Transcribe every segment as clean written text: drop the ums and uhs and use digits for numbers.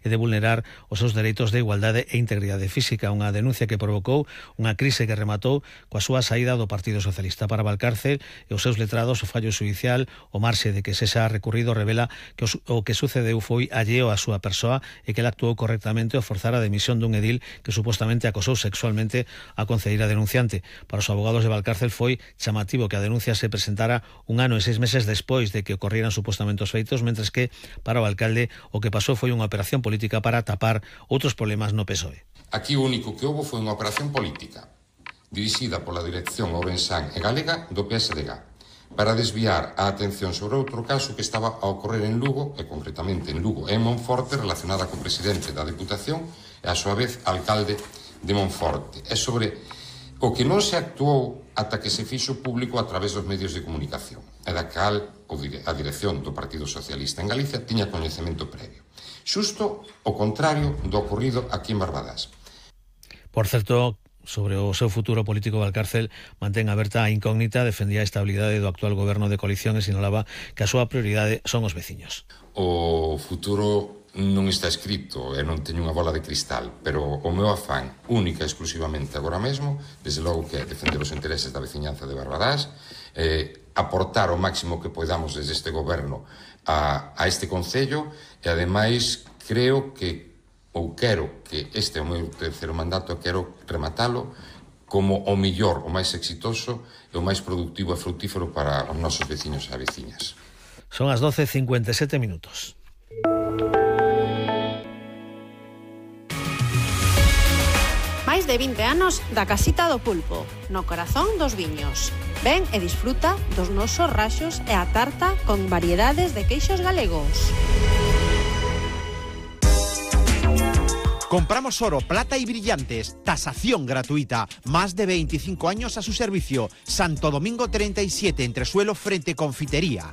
e de vulnerar os seus dereitos de igualdade e integridade física, unha denuncia que provocou unha crise que rematou coa súa saída do Partido Socialista. Para Valcárcel e os seus letrados, o fallo xudicial, o marxe de que se xa recurrido, revela que o que sucedeu foi alleo á súa persoa e que ela actuou correctamente ao forzar a demisión dun edil que supostamente acosou sexualmente a concelleira denunciante. Para os abogados de Valcárcel foi chamativo que a denuncia se presentara 1 ano e 6 meses despois de que ocorrieran supostamente os feitos, mentres que para o alcalde o que pasou foi unha operación política para tapar outros problemas no PSOE. Aquí o único que houve foi unha operación política dirixida pola dirección ourensán e galega do PSDG para desviar a atención sobre outro caso que estaba a ocorrer en Lugo, e concretamente en Lugo e en Monforte, relacionada co presidente da Deputación e a súa vez alcalde de Monforte. É sobre o que non se actuou ata que se fixo público a través dos medios de comunicación, e da cal a dirección do Partido Socialista en Galicia tiña coñecemento previo. Xusto o contrario do ocorrido aquí en Barbadás. Por certo, sobre o seu futuro político, Valcárcel mantén aberta a incógnita, defendía a estabilidade do actual goberno de coalición e sinalaba que a súa prioridade son os veciños. O futuro non está escrito e non teño unha bola de cristal, pero o meu afán única e exclusivamente agora mesmo, desde logo que é defender os intereses da veciñanza de Barbadás, aportar o máximo que podamos desde este goberno a este concello e ademais creo que quero que este é o meu terceiro mandato e quero rematalo como o mellor, o máis exitoso e o máis productivo e frutífero para os nosos veciños e veciñas. Son as 12:57 minutos. Máis de 20 anos da Casita do Pulpo, no corazón dos viños. Ven e disfruta dos nosos raxos e a tarta con variedades de queixos galegos. Compramos oro, plata y brillantes. Tasación gratuita. Más de 25 años a su servicio. Santo Domingo 37, entresuelo frente Confitería.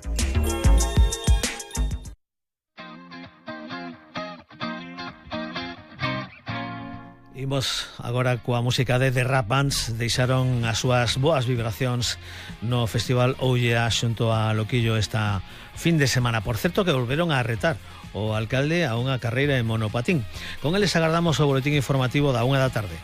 Imos agora coa música de The Rap Bands. Deixaron as súas boas vibracións no Festival Ollea xunto a Loquillo esta fin de semana. Por certo que volveron a retar o alcalde a unha carreira en monopatín. Con eles agardamos o boletín informativo da 1 da tarde.